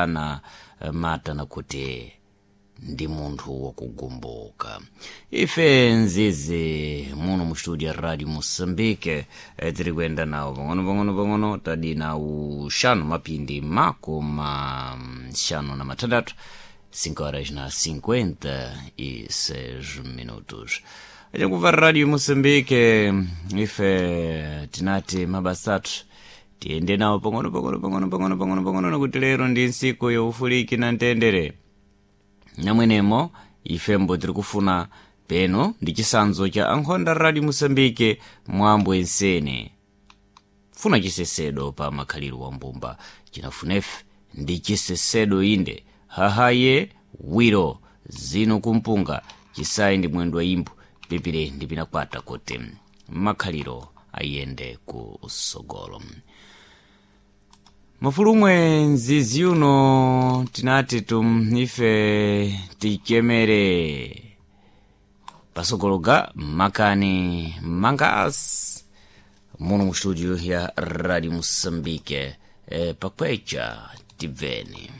Ana mata nakuti ndi munthu wakugumbuka. Ife nzizi muno mu studio ya Radio Moçambique, tiri kuyenda nawo pang'ono pang'ono pang'ono tadina uxanu mapindi makoma 56, 5 horas na 56 minutos. Achakuva Radio Moçambique, ife tinati mabasa athu tiyende nawo pang'ono pang'ono pang'ono pang'ono pang'ono pang'ono, nakuti lero ndi ntsiku yaufuliki na mtendere. Namwenemo ifembo tiri kufuna peno ndi chisanzo cha ankhonda Radio Moçambique mwambo ensene funa chisesedo pa makhaliro wa mbumba chinafunefe ndi chisesedo inde hahaye wiro zino kumpunga chisayi ndi mwendo wa imbu pipire ndi pinakwata kuti makhaliro ayende ku sogolo. Mafulumwe nzizi uno tinati tum ife tichemere pasogologa makani mangas muno mu studio ya Radio Moçambique, pakwecha tibveni.